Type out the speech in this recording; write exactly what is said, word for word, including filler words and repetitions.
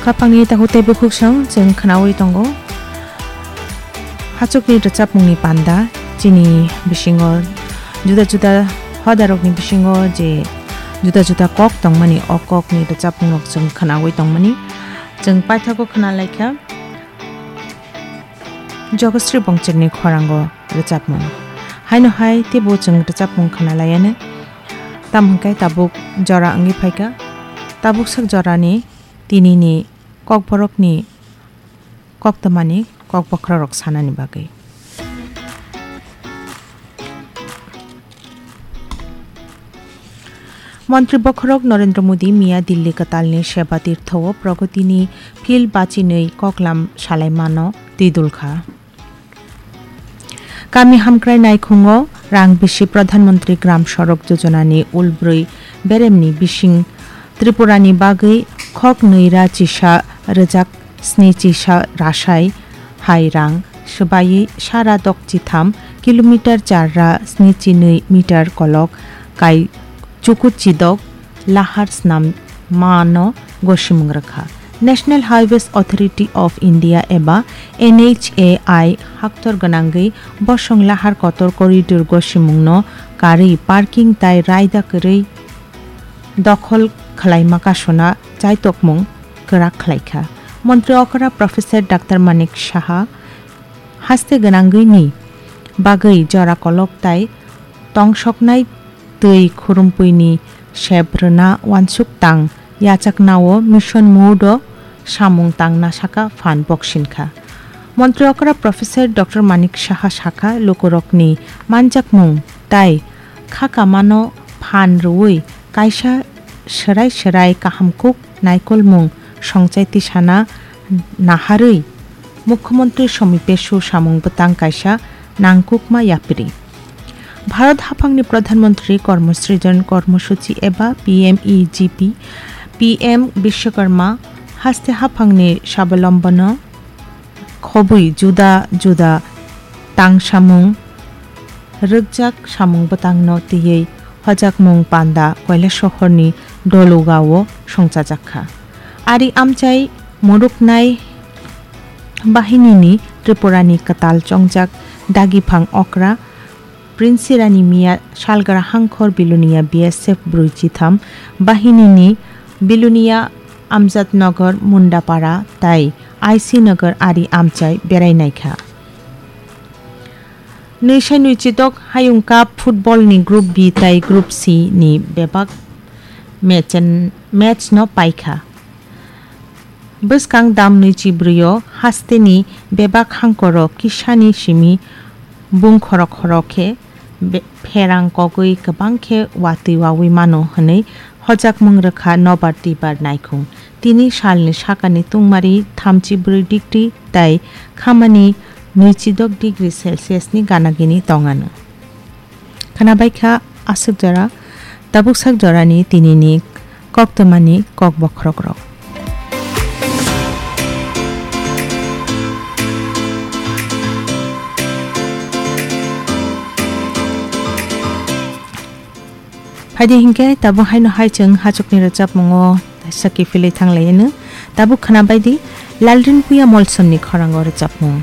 Khapangni takhuk tei bukhuksong chwng khwnaui tongo. Hachukni rwchapmungni panda chini bisingo juda juda hodarokni bisingo je juda juda kok tongmani, o kokni rwchapmungrok chwng khwnaui tongmani. Chwng paithago khwnalaikha Jogosri Bongcherni khorango rwchapmung. Haino hai teibo chwng rwchapmung khwnalaianw. Tamo hwnkhe tabuk jora wngwi phaikha. Tabuk sak jorani tinini Kokborokni koktwmani kok bokhorok sanani bagwi. Montri bokhorok Narendra Modi miya Dilli kwtalni Seba Tirtho-o Pragotini phil bachinwi koklam salaimano twi dulkha. Kami hamkrai naikhungo rang bisi Pradhan Mantri Gram Sorok Yojonani ulbrwi beremni bising Tripurani bagwi khok nwi ra chisa rwjak sni chisa rasai hai rang swbaiwi sara dok chitham kilometer char ra sni chi nwi meter kolok kai chuku chidok lahar snam mano gosimung rwkha. National Highways Authority of India eba N H A I haktor gwnangwi bosong lahar kotor corridor gosimungno karwi parking tai raida kwrwi dokhol khwlaima kasuna chaitokmung kwrak khlaikha. Montri okra Professor Doctor Manik Saha haste gwnangwini bagwi jora kolok tai tongsoknai twi khurumpuini sep rwna uansuk tang yachaknao mission mode-o samung tangna saka phan boksinkha. Montri okra Professor Doctor Manik Saha sakha, lukurokni manjakmung tai khakamano phan rwui kaisa swrai swrai kahamkuk naikolmung songchai tisana naharwi Mukhyamantri Somi Pesu samung bwtang kaisa nangkukma yapri. Bharat haphangni Pradhan Mantri Kormo Srijan Kormo Suchi eba P M E G P, P M Bishwakarma haste haphangni Swabalombon-o khobwi juda juda tangsamung rwkjak samung bwtangno twiwi hojakmung panda Kailasahorni Doluga-o songchajakha. Ari amchai muruknai bahinini Tripurani kwtal chongjak dagiphang okra Prince Rani Miya salgra hangkhor Bilonia B S F brwi chitham bahinini Bilonia Amjadnagar Mundapara tai I C Nagar ari amchai berai naikha. Nwi sai nwi chidok Hayung Cup football ni Group B tai Group C ni bebak match, match no paikha. Bwskang dam nwi chibrwi o hasteni bebak hangkoro kisani simi bung khoro khoro khe be-, pherang kogwi kwbang khe watwi wawi mano hwnwi hojakmung rwkha nobar twibar naikhung. Tini salni sakani tungmari thamchi brwi degree tai khamani nwichi dok degree Celsius ni gana gini tongano. Khwnabai kha aswk jora, tabuk sak jorani tinini koktwmani kok bokhorok rok. Phaidi hinkhe tabuk haino hai chwng hachukni rwchapmungo saki philwi thanglaiyano. Tabuk khwnabai di Lalrinpuia Molsomni khorango rwchapmung.